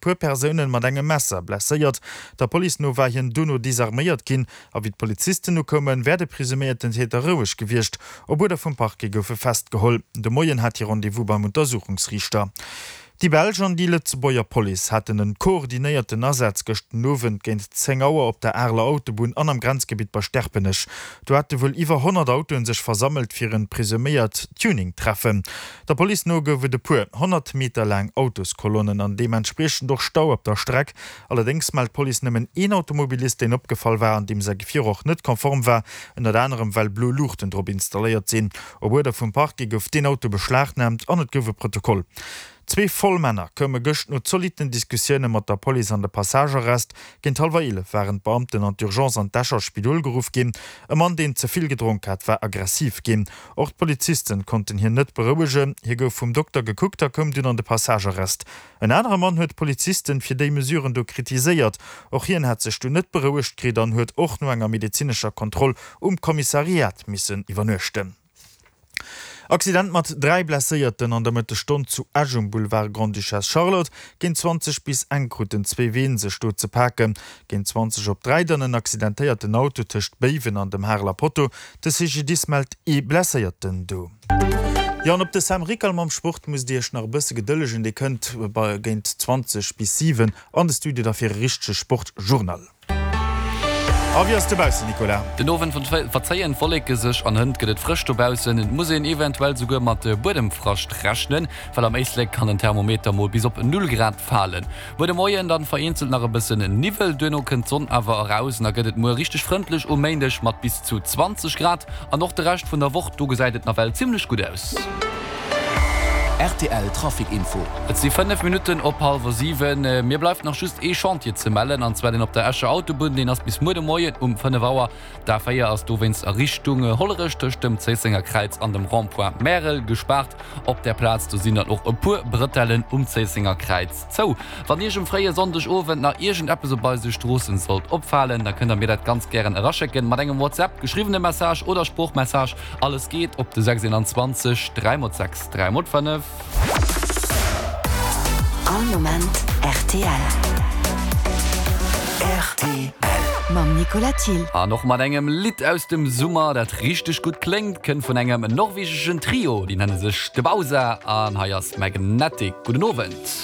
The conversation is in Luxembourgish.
puer Persounen mat engem Messer blesséiert. Der Police no war hien dono desarméiert ginn a wéi d'Polizisten ukoumen, wär de presuméierten Täter roueg gewiescht. Op Uerder vum Parquet gouf e festgeholl. De Moien hat hie Rendez-vous beim Untersuchungsriichter. Déi belsch an déi Lëtzebuerger Police haten en koordinéierten Asaz gëscht den Owend géint 10 Auer op der Areler Autobunn an am Grenzgebitt bei Sterpenech. Do hate wuel iwwer 100 Autoen sech versammelt fir en presuméiert Tuning-Treffen. Der Police no gouf et e puer 100 Meter laang Autoskolonnen an deementspriechend och Stau op der Streck. Allerdéngs mellt d'Police nëmmen een Automobilist, deen opgefall war an deem säi Gefier och net konform war, ënnert anerem well blo Luuchten drop installéiert sinn. Op Uerder vum Parquet gouf deen Auto beschlagnaamt an et gouf e Protokoll. Zwee voll Männer koume gëscht no zolitten Diskussioune mat der Police an de Passagearrest. Géint hallwer 11 waren d'Beamten an d'Urgence an d'Escher Spidol geruff ginn. E Mann, deen ze vill gedronk hat, war aggressiv ginn. Och d'Polizisten konnten hien net berouegen. Hie gouf vum Dokter gekuckt a koum dunn an de Passagearrest. En anere Mann huet d'Polizisten fir déi Mesuren do kritiséiert. Och hien hat sech dunn net berouegt kritt an huet och no enger medezinescher Kontroll um Kommissariat missen iwwernuechten. Accident mat 3 Blesséierten an der Mëttesstonn zu Esch um Boulevard Grande-Duchesse Charlotte. Géint 20 bis eng kruten zwee Ween sech do ze paken. Géint 20 op 3 dann en accidentéierten Auto tëscht Béiwen an dem Hareler Potto. De CGDIS mellt ee Blesséierten do. Jo, an op de Sam Rickal mam Sport musst Dir Iech nach e bësse gedëllegen. Dee kënnt bei géint 20 bis 7 an de Studio da fir e richtege Sportjournal. A wéi ass et dobaussen, Nicolas? Den Owend verzéien d'Wolleke sech an hënt gëtt et frësch dobaussen. Et muss een eventuell souguer mat Buedemfrascht rechnen, well am Éislek kann den Thermometer mol bis op Null Grad falen. Muer de Moien dann vereenzelt nach e bëssen Niwwel, duerno kënnt d'Sonn awer eraus an da gëtt et muer richteg frëndlech um Méindeg mat bis zu 20 Grad. An och de Rescht vun der Woch, do gesäit et nawell zimmlech gutt aus. Rtl Trafic Info. Et si 5 Minutten op hallwer 7. Mir bleift nach just ee Chantier ze mellen, an zwar deen op der Escher Autobunn. Deen ass bis muer de Moien um 5 Auer. D'A4 ass dowéinst a Richtung Hollerech tëscht dem Zéissenger Kräiz an dem Rond-point Märel gespaart. Op där Plaz do sinn dann och e puer Brëtellen um Zéissenger Kräiz zou. Wann Iech um fréie Sonndegowend nach iergendeppes op eise Stroossen sollt opfalen, da kënnt der mir dat ganz gären eraschécken mat engem WhatsApp, geschriwwene Message oder Sproochmessage. Alles geet op de 621 3 x 6 3 x 5. All Moment rtl. Rtl. Mam Nicolas Thill. An och mat engem Lidd aus dem Summer, dat richteg gutt kléngt, kënnt vun engem norwegeschen Trio, déi nenne sech The Bausa an hei ass Magnetic. Gudden Owend.